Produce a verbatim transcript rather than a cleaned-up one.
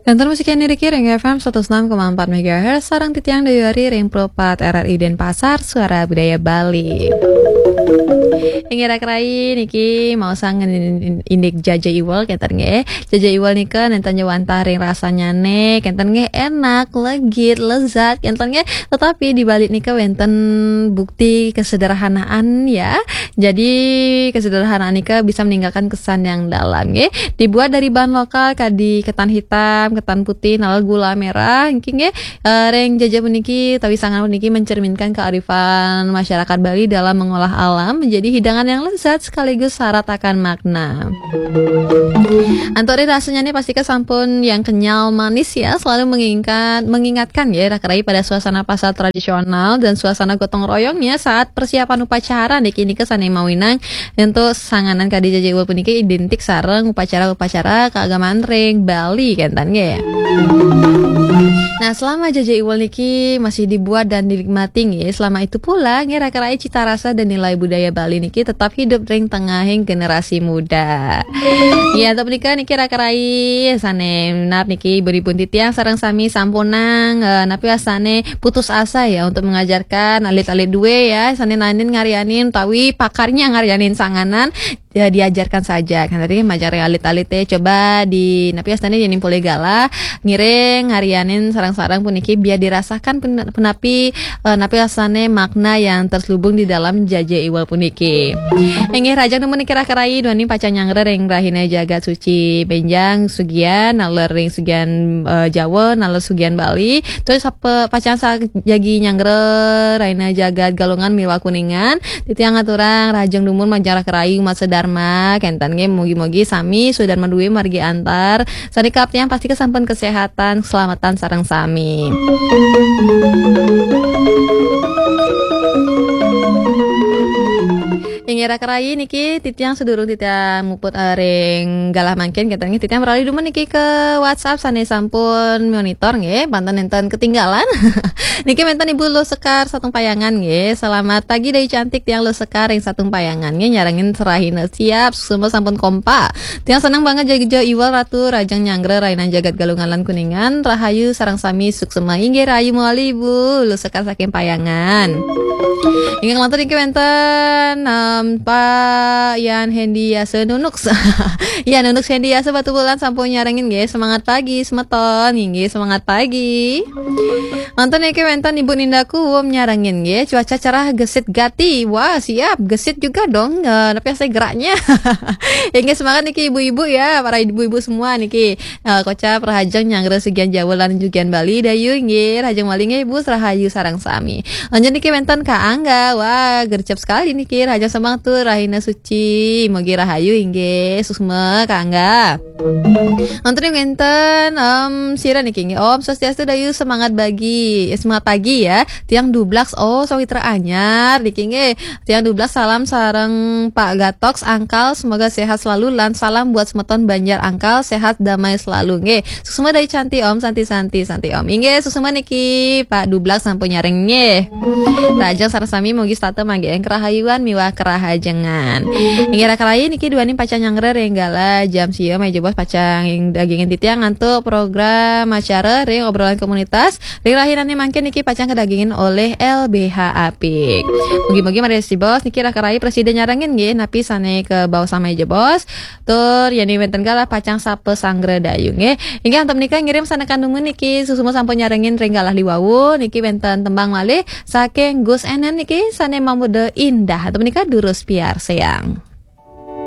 Kantor musik yang dikiring F M seratus enam koma empat megahertz, sarang titiang dayuari ring Pro empat R R I Denpasar, Suara Budaya Bali. Inggih raka rayi niki maosang indik jaja iwel kenten nggih. Jaja iwel nika nenten ja wantah ring rasanyane, kenten nggih enak, legit, lezat, kenten nggih. Tetapi di balik nika wenten bukti kesederhanaan ya. Jadi kesederhanaan nika bisa meninggalkan kesan yang dalam nggih. Dibuat dari bahan lokal kadi ketan hitam, ketan putih, naler gula merah, niki nggih. Eh, ring jaja puniki, tawi sanganan puniki mencerminkan kearifan masyarakat Bali dalam mengolah alam menjadi hidangan yang lezat sekaligus syarat akan makna. Antuk ring rasanyane pastika sampun yang kenyal manis ya, selalu mengingat, mengingatkan ya, raka rayi pada suasana pasar tradisional dan suasana gotong royongnya saat persiapan upacara niki nika sane mawinan untuk sanganan kadi jaja iwel puniki identik sareng upacara-upacara keagamaan ring Bali kenten nggih. Nah, selama jaja iwel niki masih dibuat dan dinikmati nggih, selama itu pula nggih raka rayi cita rasa dan nilai budaya Bali niki tetap hidup ring tengahing generasi muda. Ya, antuk punika niki raka rayi sane minab niki ibu-ibu titiang sareng sami sampunang, eh, napi wastane putus asa ya untuk mengajarkan alit-alit due ya, sane naenin ngaryanin utawi pakarnya ngaryanin sanganan, ya, diajarkan saja. Kan tadi majar alit-alit teh coba di napi wastane yen polih galah ngiring ngaryanin sareng-sareng puniki biar dirasakan pun-, punapi, eh, napi wastane makna yang terselubung di dalam jaja iwel puniki. Inggih rahajeng dumun niki raka rayi duaning pacang nyanggra ring rahina jagat suci benjang sugian naler ring sugian, eh, Jawa naler sugian Bali. Terus apa pacang sa-, jagi nyanggra rahina jagat Galungan miwah Kuningan. Titiang ngaturang rahajeng dumun majeng raka rayi umat sedharma kenten nggih, mugi-mugi sami sedharma due margi antar. Sané kaptiang pastika sampun kesehatan, keselamatan sareng sami. Inggih raka rayi niki titiang sedurung titiang muput, eh, ring galah mangkin kenten nggih, titiang meralih dumun niki ke WhatsApp sané sampun monitor nggih, panten nénten ketinggalan. Niki wénten Ibu Luh Sekar Satung Payangan nggih. Selamat pagi Dai Cantik, tiang Luh Sekar ring Satung Payangan nggih, nyarengin serahina siap, semua sampun kompak. Tiang seneng banget jaga iwal Ratu Rajang Nyanggra Rainan Jagat Galungan lan Kuningan. Rahayu sareng sami suksema. Inggih rahayu mawali Ibu Luh Sekar saking Payangan. Inggih kelantur niki wénten, em, Pak Yan Hendi Yasa Nunuk. Yan Nunuk Hendi Yasa Batubulan sampun nyarengin nggih. Semangat pagi semeton. Inggih semangat pagi. Manten niki wénten Ibu Ninda Kuwum nyarengin nggih, cuaca cerah gesit gati. Wah, siap, gesit juga dong. Eh, tapi saya geraknya. Inggih semangat niki ibu-ibu ya, para ibu-ibu semua niki. Eh, kocap rahajeng nyanggra sugian Jawa lan sugian Bali dayu nggih, rahajeng malih nggih Ibu rahayu sareng sami. Lanjut niki wénten Kak Angga. Wah, gercep sekali niki, rahajeng semangat tuh rahina suci. Mugi rahayu inggih, suksma Kak Angga. Wonten ing ngenten, em, sira niki nggih. Om Swastiastu dayu semangat bagi, eh, semangat pagi ya. Tiang Dublaks, oh, sawitra anyar niki nggih. Tiang Dublaks salam sareng Pak Gatoks, Angkal, semoga sehat selalu lan salam buat semeton Banjar Angkal, sehat damai selalu nggih. Suksma Dai Canti Om, Santi Santi Santi Om. Inggih, suksma niki Pak Dublaks sampun nyareng nggih. Rahajeng sareng sami mugi setata manggih kerahayuan miwah kerahajengan. Inggih raka rayi niki duaning pacang nyanggra ring galah jam sia, maya jebos pacang dagingin titiang antuk program acara ring obrolan komunitas. Ring rahinane mangkin niki pacang kadagingin olih L B H Apik. Mugi-mugi maya jebos niki raka rayi presida nyarengin nggih napi sane kabaos maya jebos. Tur yén wénten galah pacang sapa sanggra dayu nggih. Inggih antuk menika ngirim sanekan dumun niki suksma sampun nyarengin ring galah liwau niki wénten tembang malih saking Gus Enen niki sane mamurda Indah. Antuk menika durus piarsayang.